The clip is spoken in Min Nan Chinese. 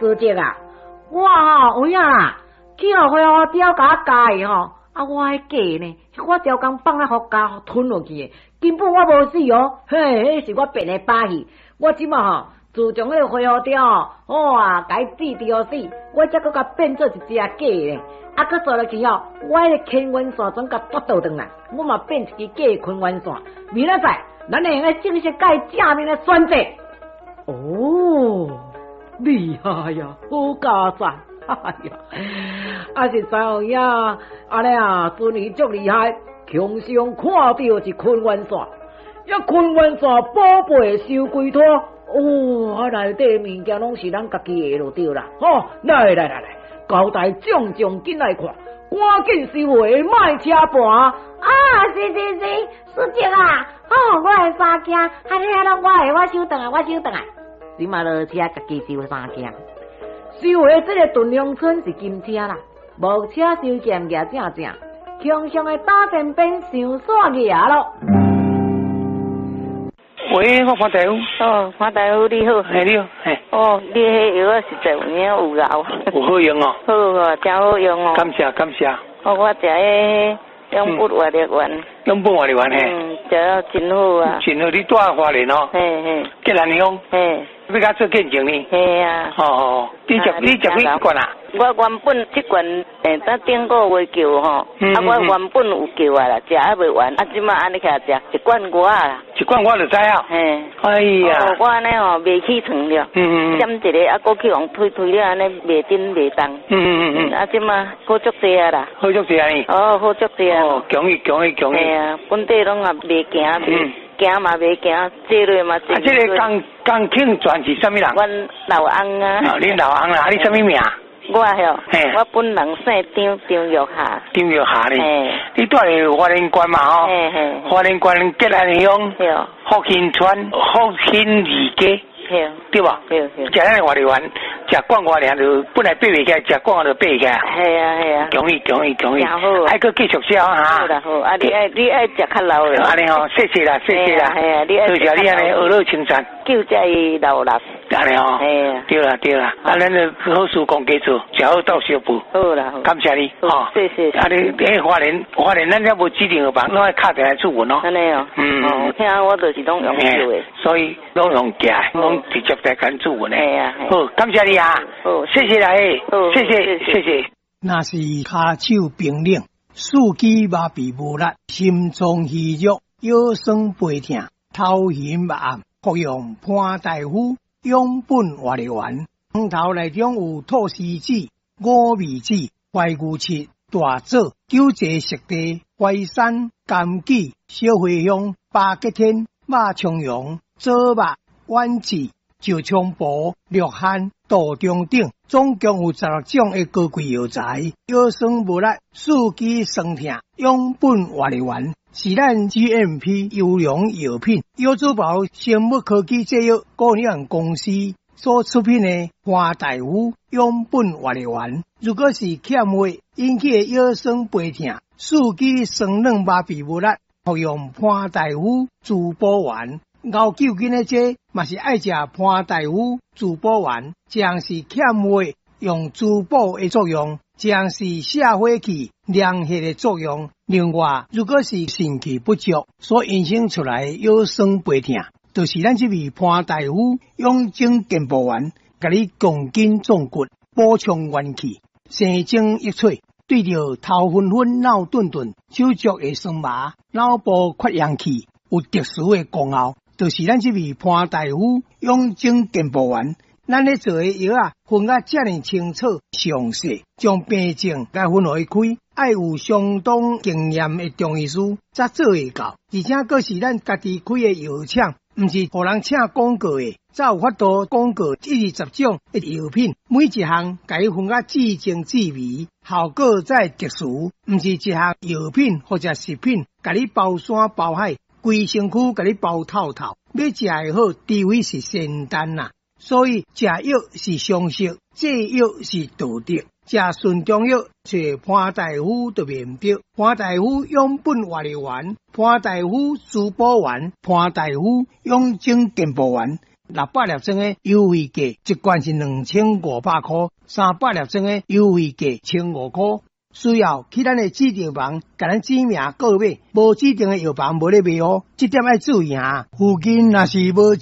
師姐啊，我吼有影啦，去予灰虎雕共我咬去吼，啊我彼假呢，我刁工放咧予咬吞落去的，根本我無死哦，嘿，彼是我變的把戲，我這馬吼，自從彼个灰虎雕吼，哇，共伊治治予死，我才閣共變做一隻假的，啊，閣煞落去吼，我彼个乾元線全共奪倒轉來，我嘛變一支假的坤元線，明仔載咱會用得正式共伊正面來宣戰。哦，厲害呀，好佳哉！哎呀，啊實在有影，按呢啊，尊兒足厲害，強上看著是坤元線，一坤元線寶貝收歸託，哦，啊內底物件攏是咱家己的就對啦。吼，來來來來，交代眾將緊來看，趕緊收回，莫車盤。啊，是是是，師姐啊，哦，我的衫囝，按呢攏我的，我收轉來，我收轉來。這馬落車家己收衫囝，收回這個屯龍村是金車啦，木車收劍舉正正，強強的打前邊上煞牙咯。喂，我潘大夫。哦，潘大夫你好。嘿，你好，嘿。哦，你彼藥仔實在有影有效。有好用哦。好啊，誠好用哦。感謝感謝。哦，我食彼養本活力丸。養本活力丸嘿。嗯，食了真好啊。真好，你住花蓮哦。嘿嘿。吉蘭鄉。嘿。欲共做見證呢？嘿啊。哦哦，你食幾罐啊？我原本這罐，等頂個月叫吼，啊，我原本有叫啊啦，食猶未完，啊，這馬按呢起來食一罐外啦。一罐我就知啊。嘿。哎呀。我按呢吼，袂起床了。閃一个，啊，閣去予推推了，按呢袂振袂動。啊，這馬好足濟啊啦。好足濟啊呢？哦，好足濟啊。哦，恭喜恭喜恭喜。嘿啊，本底攏也袂行，行嘛袂行，坐落嘛坐。啊，這个江江慶全是啥物人？阮老翁啊。哦，恁老翁啦，啊，你啥物名？我吼，我本人姓張，張玉霞。張玉霞呢？你住佇花蓮縣嘛吼？花蓮縣吉安鄉福興村福興二街，對無？對對。食咱的活力丸，食罐外爾就本來爬袂起來，食罐就爬會起來。係啊係啊。恭喜恭喜恭喜！誠好。愛閣繼續食哈。好啦好，啊你愛你愛食較老的。按呢吼，謝謝啦謝謝啦。係啊，你愛。多謝你按呢呵咾稱讚。救這伊老人。按呢吼。係啊。對啦對啦，啊咱就好事講加做，食好鬥相報。好啦好。感謝你，吼。謝謝。啊你，花蓮花蓮，咱遮無指定藥房，攏愛敲電話諮詢咯。按呢哦。嗯。聽我就是攏用叫的。所以攏用寄，攏直接來共諮詢的。係啊。好，感謝你啊。好，謝謝啦，好，謝謝謝謝。若是跤手冰冷，四肢麻痺無力，心臟虛弱，腰酸背疼，頭暈目暗，服用潘大夫養本活力丸。湯頭內中有菟絲子、五味子、懷牛膝、大棗、九節熟地、淮山、柑杞、小茴香、巴戟天、肉苁蓉、棗肉、丸子、石菖蒲、鹿菸、杜仲等，總共有16種的高貴藥材。腰酸無力、四肢痠疼，養本活力丸是咱 GMP 優良藥品，藥珠寶生物科技製藥股份有限公司所出品的潘大夫養本活力丸。如果是欠血引起的腰酸背疼、四肢痠軟麻痺無力，服用潘大夫滋補丸。熬究竟的這嘛是愛食潘大夫滋補丸，這樣是欠血用滋補的作用，這樣是瀉火氣涼血的作用。另外，如果是腎氣不足所引生出來的腰酸背疼，就是咱這味潘大夫養精健步丸，共你強筋壯骨，補充元氣，生精益粹。對著頭昏昏、腦鈍鈍、手足會酸麻、腦部缺氧氣，有特殊的功效。就是咱這味潘大夫養精健步丸，咱咧做的藥仔分甲遮爾清楚、詳細，將病症共分予伊開，愛有相當經驗的中醫師才做會到。而且閣是咱家己開的藥廠，毋是予人請廣告的，才有法度廣告一二十種的藥品，每一項共伊分甲至精至微，效果才會特殊。毋是一項藥品或者食品，共你包山包海。規身軀共你包透透，欲食會好，除非是仙丹啦。所以食藥是常識，製藥是道德。食純中藥，揣潘大夫就袂毋對。潘大夫養本活力丸，潘大夫滋補丸，潘大夫養精健步丸。600粒裝的優惠價，一罐是2500箍，300粒裝的優惠價1500箍。需要去咱的指定房，共咱指名購買，無指定的藥房無咧賣哦。這點愛注意啊！附近若是無。